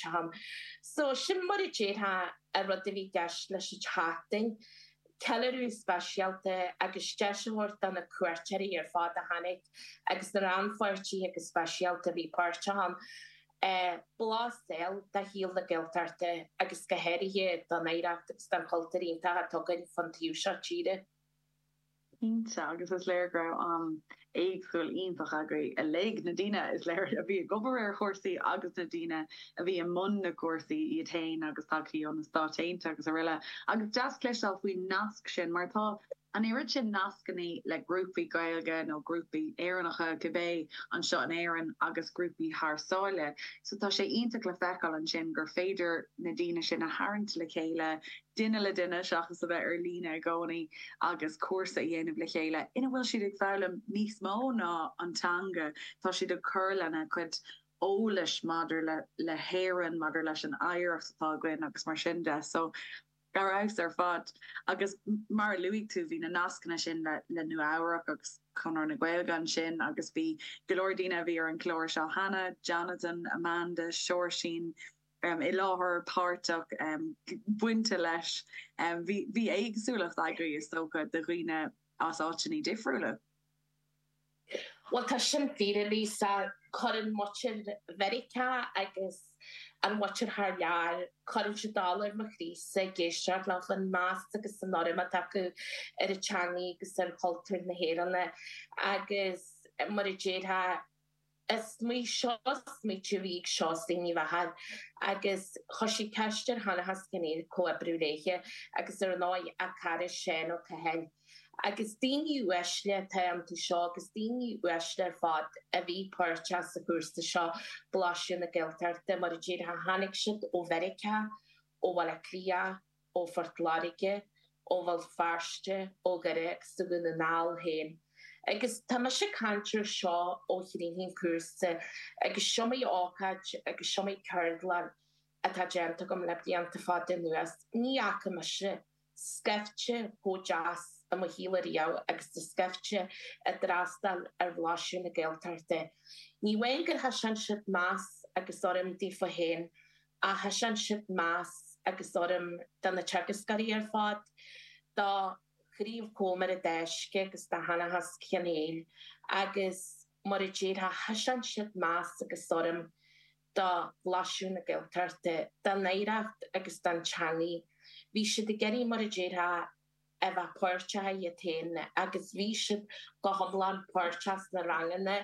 páirteach ann. So sin mar a déarfá an rud a bhí i gceist leis an tseachtain, ceiliúradh speisialta agus deis a thabhairt do na cuairteoirí ar fad a tháinig agus na rannpháirtithe go speisialta a bhí páirteach ann, blas a fháil de shaol na Gaeltachta agus go háirithe don oidhreacht agus don chultúr iontach atá againn fán taobh seo tíre. Cinnte, agus is léir go raibh am éagsúil iontach agaibh uilig, na daoine is léir a bhí ag obair ar chúrsaí agus na daoine a bhí i mbun na gcúrsaí iad féin agus tagthaí ó na Stáit Aontaithe agus araile. Agus deas cloisteáil faoin nasc sin mar tá an oiread sin nascanna le grúpaí Gaeilge nó grúpaí Éireannacha cibé anseo in Éirinn agus grúpaí thar sáile. So tá sé iontach le feiceáil ansin gur féidir na daoine sin a tharraingt le chéile, duine le duine seachas a bheith ar líne i gcónaí agus cúrsa a dhéanamh le chéile ina bhfuil siad ag foghlaim níos mó ná an teanga, tá siad ag cur lena gcuid eolais maidir le le hÉirinn, maidir leis an oidhreacht atá againn agus mar sin de. So, ar fheabhas ar fad. Agus mar a luaigh tú, bhí na nascanna sin le le Nua Eabhrac agus Conradh na Gaeilge ansin agus bhí go leor daoine a bhí ar an chlár seo cheana, Jonathan, Amanda, Seoirsín, i láthair, páirteach, bainte leis. Bhí éagsúlacht agaibh, is dócha, de dhaoine as áiteanna difriúla. Bhuel, tá sin fíor, a Lisa. Cuireann muintir Mheiriceá agus an mhuintir thar lear, cuireann siad dall ar mo chroísa ag éisteacht leo, an meas agus an urraim atá acu ar an teangaidh agus ar chultúr na hÉireann. Agus mar a déarfá, Is í seo smaoitiú a bhí ag Seosaimh Ní Mheachair agus chuir sí ceist ar Sheanchas Chionn Fhir comhoibriú léithe agus ar ndóigh a cara Seán Ó Cathail. Agus daoine uaisle atá iontu seo agus daoine uaisle ar fad a bhí páirteach sa chúrsa seo, Blaiseadh na Gaeltachta, mar a déarfá, tháinig siad ó Mheiriceá, ó Bhaile Átha Cliath, ó Phort Láirge, ó Bhéal Feirste, ó Dhoire agus ó Dhún na nGall féin. Agus tá mise ag caint ar seo ó chríochnaigh an cúrsa agus is iomaí ócáid agus is iomaí ceardlann atá déanta agam le blianta fada anuas. Ní fhaca mise scaifte chomh deas i mo shaol ariamh agus an scaifte a d'fhreastail ar Bhlaiseadh na Gaeltachta. Ní amháin gur thaispeáin siad meas agus urraim daofa féin ach thaispeáin siad meas agus urraim do na teagascóirí ar fad, do Chraobh Chóiméar an Dá Uisce agus do Sheanchas Chionn Fhir agus mar a déarfá, thaispeáin siad meas agus urraim do Bhlaiseadh na Gaeltachta, don oidhreacht agus don teangaidh. Bhí siad ag iarraidh, mar a déarfá, a bheith páirteach iad féin agus bhí siad go hiomlán páirteach sna ranganna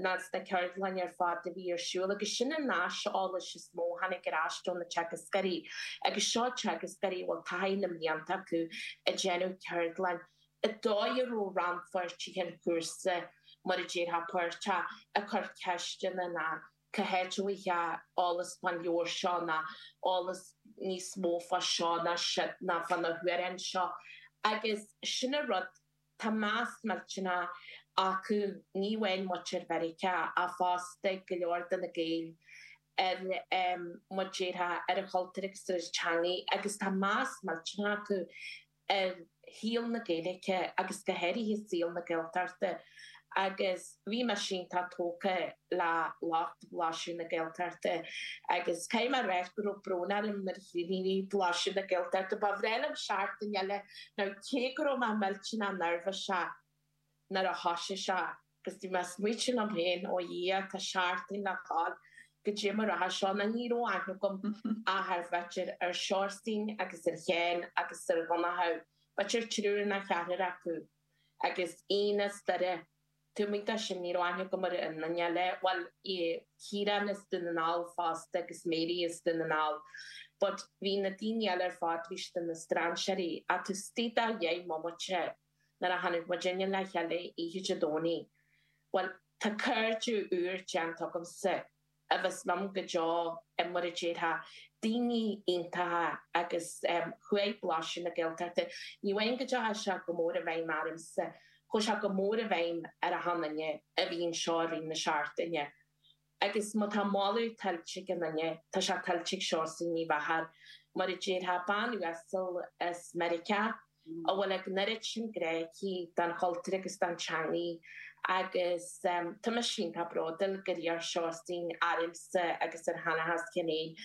ná sna ceardlanna ar fad a bhí ar siúl agus sin an aiseolas is mó a tháinig ar ais ó na teagascóirí agus seo teagascóirí a bhfuil taithí na mblianta acu ag déanamh ceardlann an dóigh a raibh rannpháirtithe an chúrsa mar a déarfá páirteach ag cur ceisteanna ná cá háit a bhfaighfeá eolas fán leabhar seo ná eolas níos mó fá seo ná siúd ná fá na hamhráin seo agus sin an rud, tá meas millteanach acu, ní amháin muintir Mheiriceá ach fosta go leor de na Gaeil ar, mar a déarfá, ar an chultúr agus ar an teangaidh agus tá meas millteanach acu ar shaol na Gaeilge agus go háirithe saol na Gaeltachta agus bhí mise iontach tógtha le lucht Bhlaiseadh na Gaeltachta agus caithfidh mé a rá go raibh brón orm nuair a chríochnaigh Blaiseadh na Gaeltachta. Ba bhreá liom seachtain eile nó cé go raibh mé millteanach neirbhíseach nuair a thoisigh sé agus bhí mé ag smaoitiú liom féin, ó Dhia, tá seachtain le dhul, goidé mar a rachaidh seo, nó ní raibh aithne agam ach ar b'fhéidir ar Sheosaimhín agus ar Sheán agus ar Dhonnchadh, b'fhéidir triúr nó ceathrar acu, agus Ian as Doire, taobh amuigh de sin ní raibh aithne agam ar aon duine eile, bhuel, Ciarán as Dún na nGall fosta agus Mary as Dún na nGall, but bhí na daoine eile ar fad, bhí siad ina strainséirí, ach taobh istigh de dheich mbomaite, nuair a tháinig muidinne le chéile oíche Dé Domhnaigh, bhuel, tá cairde úr déanta agamsa a bheas liom go deo, mar a déarfá, daoine iontacha agus chuaigh Blaiseadh na Gaeltachta, ní amháin go dteachaigh sé go mór i bhfeidhm ormsa, chuaigh sé go mór i bhfeidhm ar achan duine a bhí anseo i rith na seachtaine. Agus má tá moladh tuillte ag aon duine, tá sé tuillte ag Seosaimh Ní Mheachair, mar a déarfá, bean uasal as Meiriceá a bhfuil an oiread sin grá aici don chultúr agus don teangaidh agus tá mise iontach bródúil gur iarr Seosaimh ormsa agus ar Sheanchas Chionn Fhir.